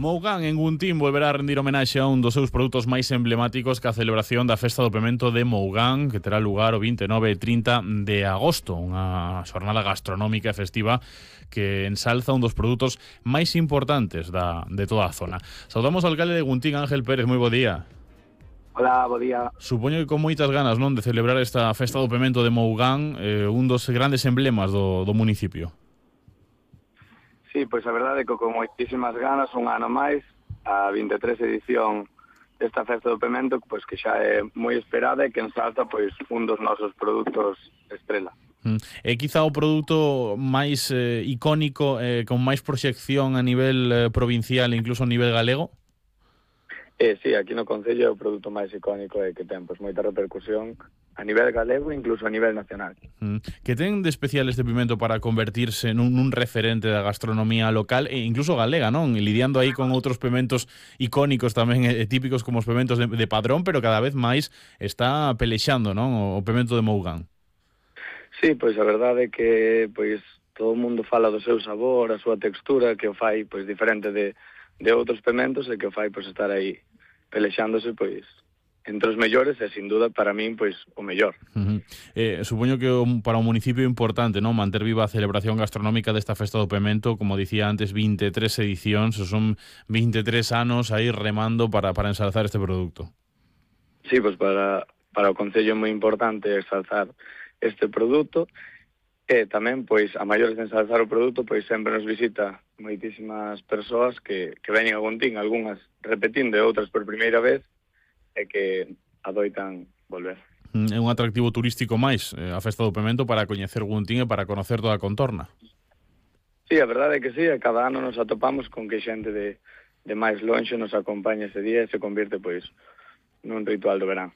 Mougán en Guntín volverá a rendir homenaxe a un dos seus produtos máis emblemáticos ca celebración da Festa do Pemento de Mougán, que terá lugar o 29 e 30 de agosto, unha xornada gastronómica e festiva que ensalza un dos produtos máis importantes de toda a zona. Saudamos ao alcalde de Guntín, Ángel Pérez, moi bo día. Hola, bo día. Supoño que con moitas ganas, non, de celebrar esta Festa do Pemento de Mougán, un dos grandes emblemas do municipio. Sí, pois a verdade é que con moitísimas ganas, un ano máis, a 23 edición desta Festa do Pemento, pois que xa é moi esperada e que ensalza pois un dos nosos produtos estrela. É quizá o produto máis icónico, con máis proxección a nivel provincial e incluso a nivel galego? Sí, aquí no Concello é o produto máis icónico e que ten pois moita repercusión a nivel galego e incluso a nivel nacional. Que ten de especial este pimento para convertirse nun referente da gastronomía local e incluso galega, non? E lidiando aí con outros pimentos icónicos tamén típicos como os pimentos de Padrón, pero cada vez máis está pelexando, non? O pimento de Mougán. Sí, pois a verdade é que pois todo o mundo fala do seu sabor, a súa textura, que o fai pois diferente de outros pimentos e que o fai pois estar aí pelexándose pois entre os mellores e sin duda para min pois o mellor. Supoño que para o municipio é importante, non, manter viva a celebración gastronómica desta Festa do Pemento, como dicía antes, 23 edicións, son 23 anos aí remando para ensalzar este produto. Sí, pois para o Concello é moi importante ensalzar este produto e tamén pois a maiores de ensalzar o produto pois sempre nos visita moitísimas persoas que veñen a Guntín, algunhas repetindo e outras por primeira vez e que adoitan volver. É un atractivo turístico máis a Festa do Pemento para coñecer Guntín e para conocer toda a contorna. Sí, a verdade é que sí, cada ano nos atopamos con que xente de máis lonxe nos acompaña ese día e se convirte pois nun ritual do verán.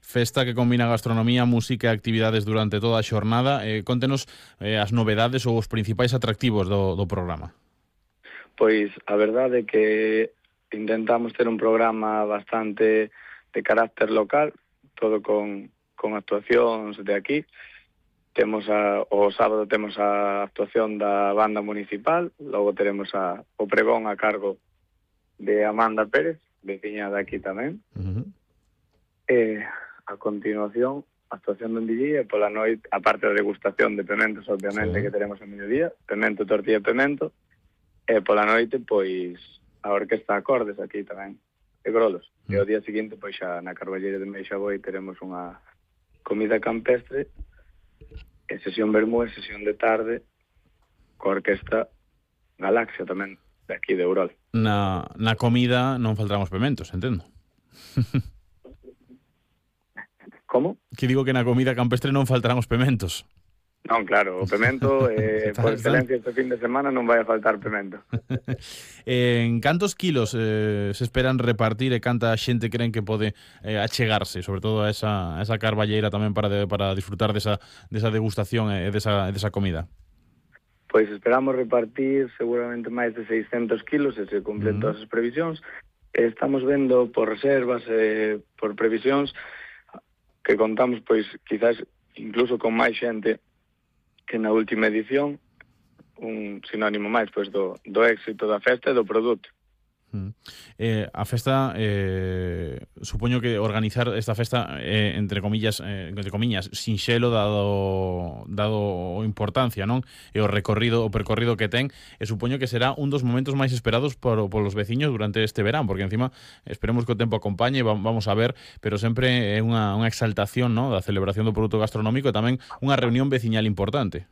Festa que combina gastronomía, música e actividades durante toda a xornada. Contenos as novedades ou os principais atractivos do programa. Pois a verdade é que intentamos ter un programa bastante de carácter local, todo con actuacións de aquí. O sábado temos a actuación da banda municipal, logo teremos o pregón a cargo de Amanda Pérez, veciña de aquí tamén. E a continuación, a actuación do DJ e pola noite, aparte da degustación de pementos, obviamente, que teremos a mediodía, pemento, tortilla e pemento, e pola noite, pois, a orquesta acordes aquí tamén, e grolos. E o día seguinte, pois xa na Carballeira de Meixaboi teremos unha comida campestre, e sesión vermú e sesión de tarde, coa orquesta Galaxia tamén, de aquí de Eurol. Na comida non faltarán os pementos, entendo. Como? Que digo que na comida campestre non faltarán os pementos. Non, claro, o pemento, por excelencia este fin de semana non vai a faltar pemento. En cantos kilos se esperan repartir e canta xente creen que pode achegarse, sobre todo a esa carballeira tamén para disfrutar desa degustación e desa comida? Pois esperamos repartir seguramente máis de 600 kilos e se cumplen todas as previsións. Estamos vendo por reservas e por previsións que contamos pois quizás incluso con máis xente que na última edición, un sinónimo máis pois do éxito da festa e do produto. A festa, supoño que organizar esta festa entre comillas sinxelo dado o importancia, non? E o percorrido que ten, e supoño que será un dos momentos máis esperados polos veciños durante este verán, porque encima esperemos que o tempo acompañe, vamos a ver, pero sempre é unha exaltación, non, da celebración do produto gastronómico e tamén unha reunión veciñal importante.